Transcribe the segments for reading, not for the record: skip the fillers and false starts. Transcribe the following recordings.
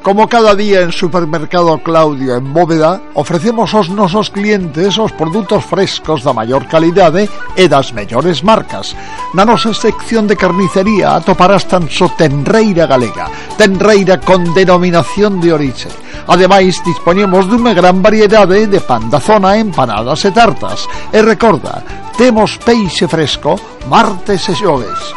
Como cada día en Supermercado Claudio en Bóveda, ofrecemos aos nosos clientes os produtos frescos da maior calidade e das mellores marcas. Na nosa sección de carnicería atoparás tan só tenreira galega, tenreira con denominación de orixe. Ademais, dispoñemos dunha gran variedade de pan da zona, empanadas e tartas. E recorda, temos peixe fresco martes e xoves.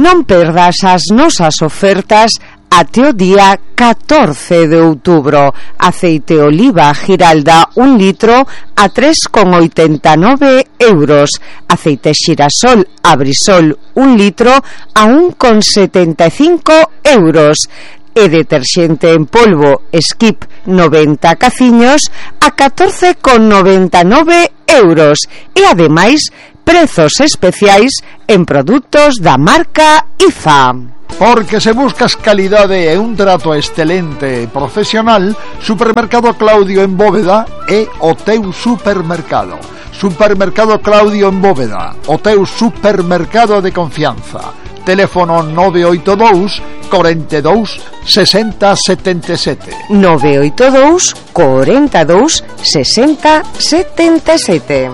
Non perdas as nosas ofertas até o día 14 de outubro. Aceite oliva Giralda 1 litro a 3,89 euros. Aceite xirasol Abrisol 1 litro a 1,75 euros. E deterxente en polvo Skip 90 caciños a 14,99 euros. E ademais, prezos especiais en produtos da marca IFA. Porque se buscas calidade e un trato excelente e profesional, Supermercado Claudio en Bóveda é o teu supermercado. Supermercado Claudio en Bóveda, o teu supermercado de confianza. Teléfono 982 42 60 77. 982 42 60 77.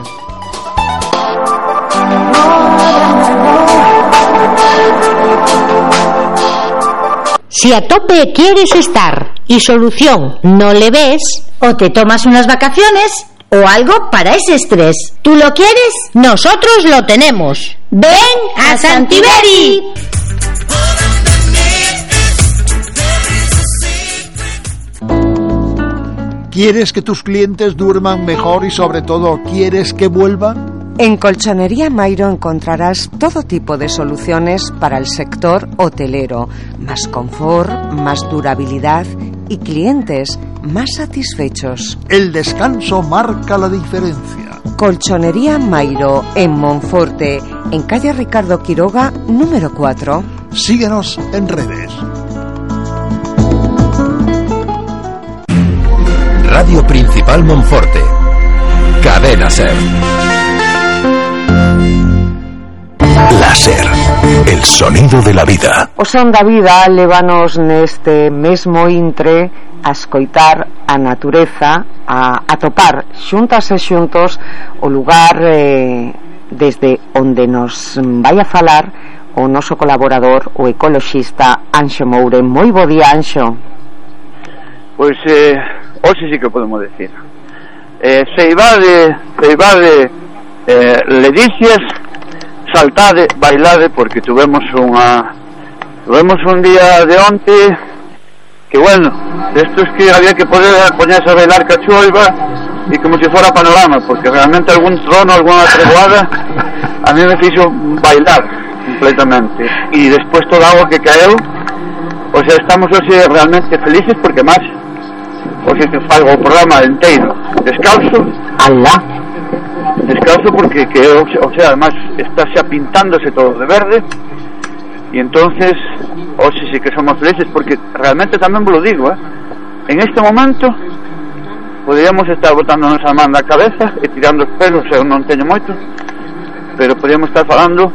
Si a tope quieres estar y solución no le ves, o te tomas unas vacaciones o algo para ese estrés. ¿Tú lo quieres? Nosotros lo tenemos. ¡Ven a Santiberi! ¿Quieres que tus clientes duerman mejor y sobre todo quieres que vuelvan? En Colchonería Mairo encontrarás todo tipo de soluciones para el sector hotelero. Más confort, más durabilidad y clientes más satisfechos. El descanso marca la diferencia. Colchonería Mairo en Monforte, en calle Ricardo Quiroga, número 4. Síguenos en redes. Radio Principal Monforte. Cadena Ser. La Ser, el sonido de la vida. O son da vida lévanos neste mesmo intre a escoitar a natureza, a topar xuntas e xuntos o lugar desde onde nos vai a falar o noso colaborador, o ecoloxista Anxo Moure. Moi bo día, Anxo. Pois hoxe sí que podemos decir Ceibade Ledicias, saltade, bailade, porque tuvemos un día de onte que bueno, estos que había que poder poñerse a bailar cachoiva e como se fora panorama, porque realmente algún trono, alguna tregoada a mí me fixo bailar completamente, e despois toda a agua que caeu, o sea, estamos hoxe realmente felices porque máis hoxe que fago o programa inteiro descalzo, porque o sea, además está xa pintándose todo de verde, e entonces hoxe sí que somos felices porque realmente tamén vos lo digo, en este momento podríamos estar botándonos a man da cabeza e tirando os pelos, eu non teño moito, pero podríamos estar falando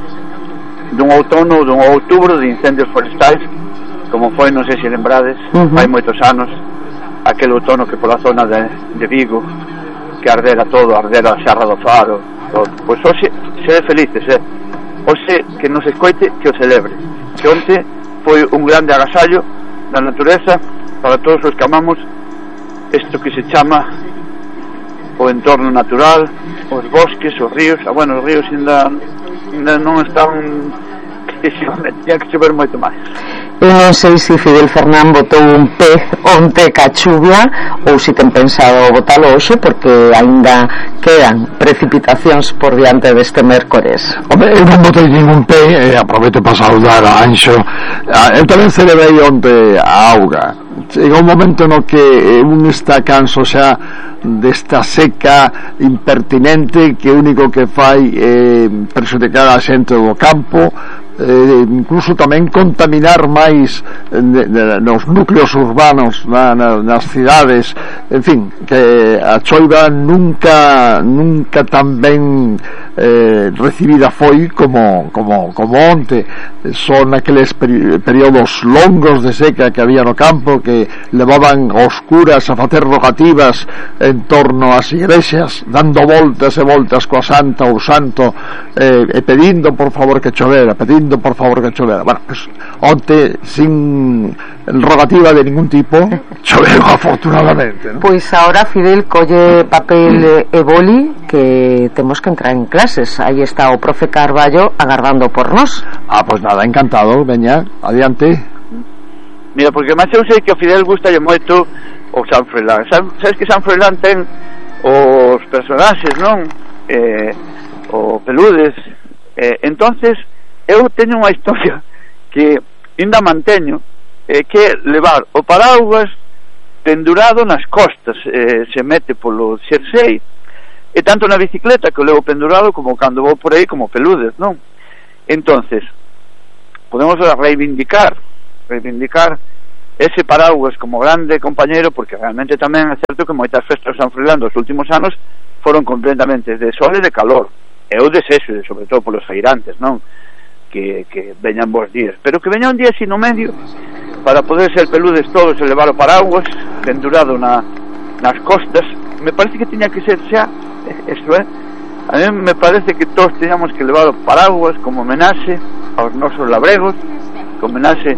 dun outono ou dun outubro de incendios forestais, como foi, non sei se lembrades, hai moitos anos, aquel outono que pola zona de Vigo que ardera todo, ardera a Xarra do Faro, todo. Pois hoxe sede felices, hoxe que nos escoite, que o celebre, que onte foi un grande agasallo da natureza para todos os que amamos isto que se chama o entorno natural, os bosques, os ríos. Bueno, os ríos ainda non están, tinha que chover moito máis. Eu non sei se Fidel Fernán botou un pez onte ca chuvia ou se ten pensado botalo hoxe, porque aínda quedan precipitacións por diante deste mércores. Home, eu non botei ningún pez e aproveito para saudar a Anxo. Eu tamén celebrei onte a auga. Chega un momento no que un está canso xa desta seca impertinente que o único que fai é perxudicar a xente do campo, incluso tamén contaminar máis nos núcleos urbanos nas cidades, en fin, que a choiva nunca tan ben recibida foi como onte. Son aqueles períodos longos de seca que había no campo, que levaban aos curas a facer rogativas en torno ás igrexas, dando voltas e voltas coa santa ou santo, e pedindo por favor que chovera. Bueno, pues onte, sin rogativa de ningún tipo, choveu afortunadamente, ¿no? Pois ahora Fidel colle papel e boli, que temos que entrar en clases. Aí está o profe Carballo agardando por nós. Pues nada, encantado, veña, adiante. Mira, porque máis eu sei que o Fidel gustalle moito o San Froilán. Sabes que San Froilán ten os personaxes, non? O Peludes. Entonces eu teño unha historia que ainda manteño, que levar o paraugas pendurado nas costas, se mete polo xersei, e tanto na bicicleta que o levo pendurado como cando vou por aí como Peludes, non? Entonces podemos reivindicar ese paraugas como grande compañero, porque realmente tamén é certo que moitas festas de San Froilán dos últimos anos foron completamente de sol e de calor, e o desexo, sobre todo polos feirantes, non? Que veñan bons días, pero que veña un día así no medio para poder ser Peludes todos e levar o paraugas pendurado nas costas. Me parece que tiña que ser xa eso, a mí me parece que todos teñamos que levar o paraugas como homenaxe aos nosos labregos, como homenaxe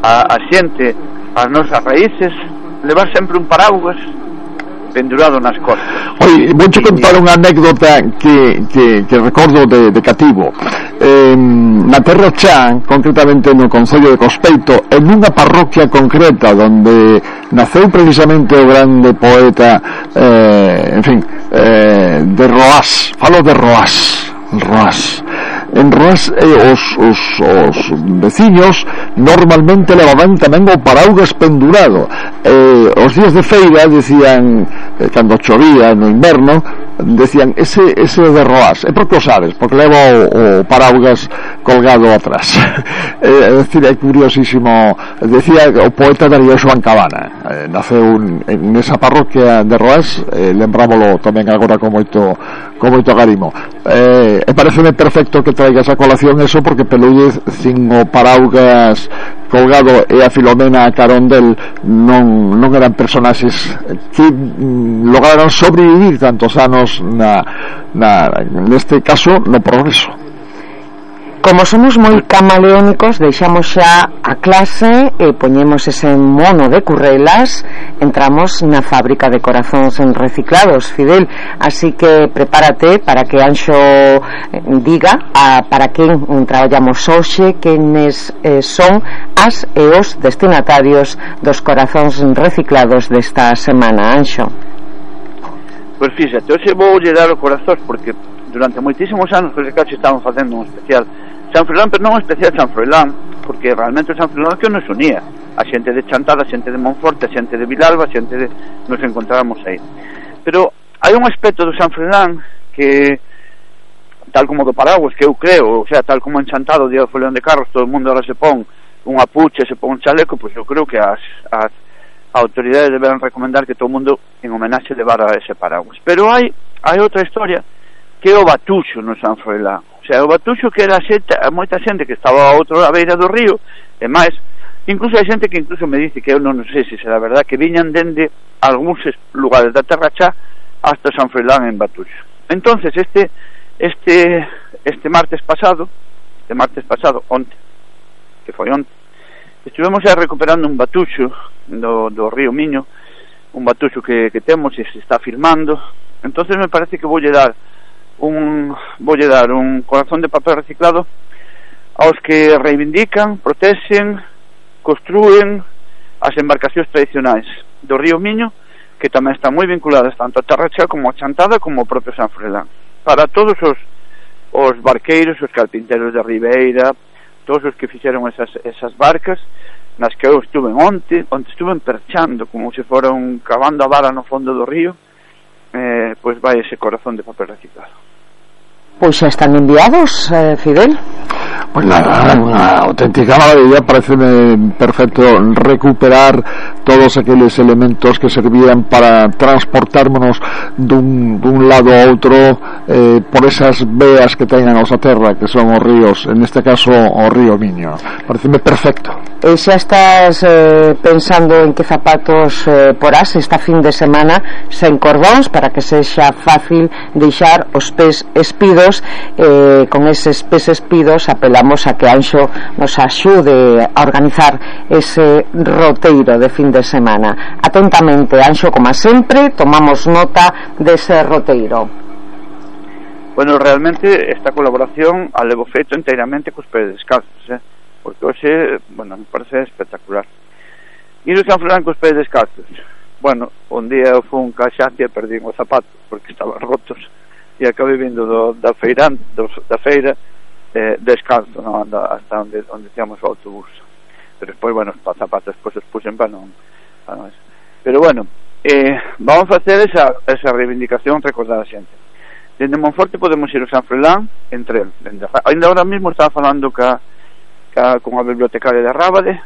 a xente, ás nosas raíces, levar sempre un paraugas pendurado nas costas. Oi, vou te contar unha anécdota que recordo de cativo. Na Terra Chá, concretamente no concello de Cospeito, en unha parroquia concreta onde naceu precisamente o grande poeta, de Roás. Falo de Roás. En Roás, os veciños normalmente levaban tamén o paraugas pendurado. Os días de feira decían, cando chovía no inverno, decían ese de Roás. E por que o sabes? Porque leva o paraugas colgado atrás. É dicir, é curiosísimo. Decía o poeta Darío Xoán Cabana, naceu nesa parroquia de Roás, lembrámolo tamén agora con moito agarimo. E pareceme perfecto que traigas a colación eso, porque Peludes sin o paraugas colgado e a Filomena a carón del non eran personaxes que lograron sobrevivir tantos anos neste caso no progreso. Como somos moi camaleónicos, deixamos xa a clase e poñemos ese mono de currelas, entramos na fábrica de corazóns reciclados, Fidel, así que prepárate para que Anxo diga para quen traballamos hoxe, quenes son as e os destinatarios dos corazóns reciclados desta semana, Anxo. Pois fíxate, hoxe vou lle dar o corazón, porque durante moitísimos anos os reciclados estaban facendo un especial San Froilán, pero non un especial San Froilán, porque realmente o San Froilán que nos unía a xente de Chantada, a xente de Monforte, a xente de Vilalba, a xente de... nos encontrábamos aí. Pero hai un aspecto do San Froilán que, tal como do Paraguas, que eu creo, o sea, tal como en Chantada o día do Foleón de Carros todo o mundo ahora se pon unha pucha, se pon un chaleco, pois eu creo que as autoridades deberán recomendar que todo o mundo en homenaxe levara ese Paraguas. Pero hai outra historia que é o batuxo no San Froilán. O sea, o batuxo que era moita xente que estaba a outra beira do río, e máis, incluso hai xente que incluso me dice que eu non sei se será verdad, que viñan dende algúns lugares da Terra Chá hasta San Froilán en batuxo. Entonces este martes pasado, onte, que foi onte, estivemos xa recuperando un batuxo do río Miño, un batuxo que temos e se está filmando. Entonces me parece que voulle dar un corazón de papel reciclado aos que reivindican, protexen, construen as embarcacións tradicionais do río Miño, que tamén están moi vinculadas tanto a Terra Chá como a Chantada como o propio San Froilán. Para todos os barqueiros, os carpinteros de Ribeira, todos os que fixeron esas barcas nas que eu estuve onte estuve perchando como se fora cavando a vara no fondo do río, pois vai ese corazón de papel reciclado. Pois xa están enviados, Fidel. Pues nada, unha auténtica maravilla. Pareceme perfecto recuperar todos aqueles elementos que servían para transportármonos dun lado a outro por esas veas que ten a nosa terra, que son os ríos, en este caso o río Miño. Pareceme perfecto. E xa estás pensando en que zapatos porás esta fin de semana sen cordóns, para que sexa fácil deixar os pés espidos. Con eses pés espidos apelamos a que Anxo nos axude a organizar ese roteiro de fin de semana. Atentamente, Anxo, como sempre, tomamos nota dese roteiro. Bueno, realmente esta colaboración a levo feito inteiramente cos pés descalzos, porque hoxe, bueno, me parece espectacular. Ir a San Froilán cos pés descalzos. Bueno, un día eu fui un caxacia e perdín os zapatos porque estaban rotos e acabei vindo da feira descalzo, no? Hasta onde tíamos o autobús. Pero despois, bueno, os zapatos despois os puxen para non eso. Pero bueno, vamos facer esa reivindicación, recordar a xente. Dende Monforte podemos ir ao San Froilán en tren. Ainda ahora mismo estaba falando con a bibliotecaria de Rábade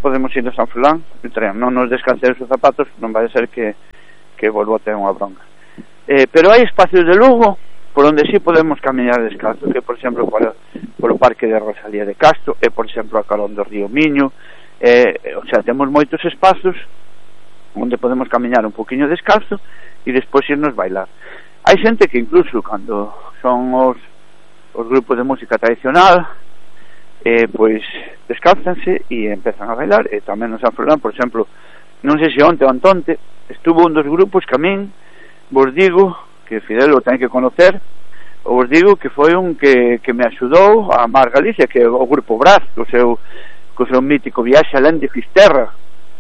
podemos ir ao San Froilán en tren. Non nos descansemos os zapatos, non vai ser que volvo a ter unha bronca. Pero hai espacios de Lugo por onde sí podemos camiñar descalzo, que por exemplo polo Parque de Rosalía de Castro, e por exemplo a carón do río Miño. O sea, temos moitos espazos onde podemos camiñar un poquinho descalzo e despois irnos bailar. Hai xente que incluso cando son os grupos de música tradicional, pois descálzanse e empezan a bailar. E tamén nos San Froilán, por exemplo, non sei se onte ou antonte estuvo un dos grupos que a min vos digo que Fidel o ten que conocer, vos digo que foi un que me axudou a amar Galicia, que é o grupo Brás, co seu mítico viaxe alén de Fisterra.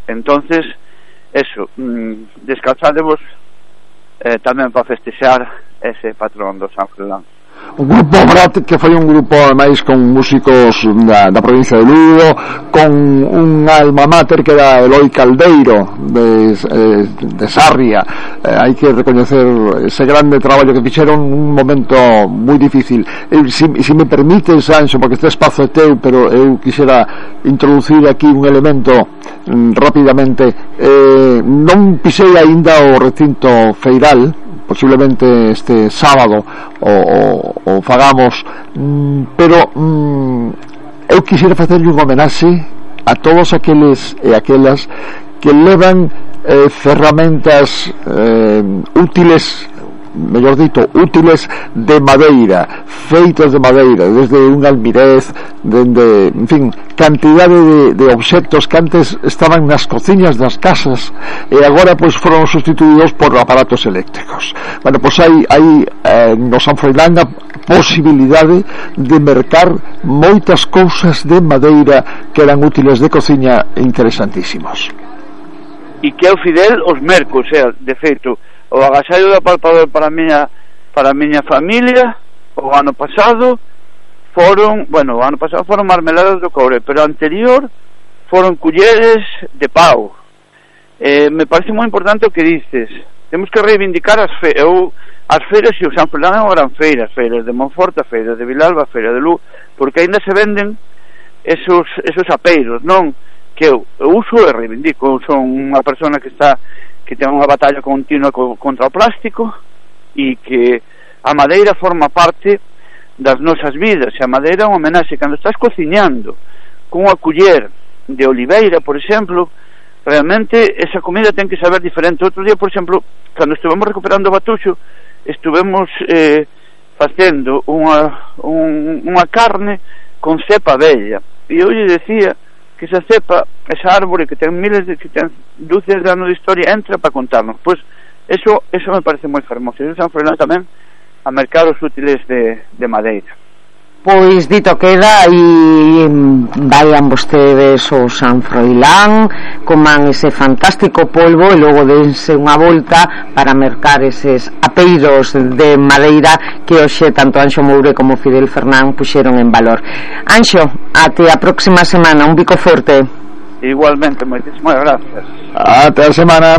Entonces, eso, descalzadevos tamén para festexar ese patrón do San Froilán. O grupo Brat, que foi un grupo máis con músicos da provincia de Lugo, con un alma mater que era Eloi Caldeiro de Sarria. Hai que recoñecer ese grande traballo que fixeron un momento moi difícil. Se me permites, Anxo, porque este espazo é teu, pero eu quixera introducir aquí un elemento rapidamente. Non pisei aínda o recinto feiral, posiblemente este sábado o fagamos, pero eu quixera facerlle un homenaxe a todos aqueles e aquelas que levan ferramentas útiles, mellor dito, útiles de madeira, feitos de madeira, desde un almirez, dende, en fin, cantidade de obxectos que antes estaban nas cociñas das casas e agora pois foron sustituídos por aparatos eléctricos. Bueno, pois hai no San Froilán a posibilidade de mercar moitas cousas de madeira que eran útiles de cociña interesantísimos. E que o Fidel os merco, o sea, de feito, o agasallo da palpador para a miña familia o ano pasado foron marmeladas do cobre, pero anterior foron culleres de pau. Me parece moi importante o que dices. Temos que reivindicar as feiras, e o San Froilán é unha gran feira, as feiras de Monforte, a feira de Vilalba, a feira de Lugo, porque aínda se venden esos apeiros, non? Que eu uso e reivindico. Eu son unha persona que ten unha batalla continua contra o plástico, e que a madeira forma parte das nosas vidas. E a madeira é unha homenaxe. Cando estás cociñando con unha culler de oliveira, por exemplo, realmente esa comida ten que saber diferente. Outro día, por exemplo, cando estivemos recuperando o Batuxo, estivemos facendo unha carne con cepa bella, e eu lle decía que esa cepa, esa árbore que ten dúcias de anos de historia, entra para contarnos. Pois eso me parece moi fermoso. E San Froilán tamén a mercar os útiles de madeira. Pois dito queda, e vayan vostedes ao San Froilán, coman ese fantástico polvo e logo dense unha volta para mercar eses apeiros de madeira que hoxe tanto Anxo Moure como Fidel Fernán puxeron en valor. Anxo, até a próxima semana, un bico forte. Igualmente, moitísimas gracias. Até a semana.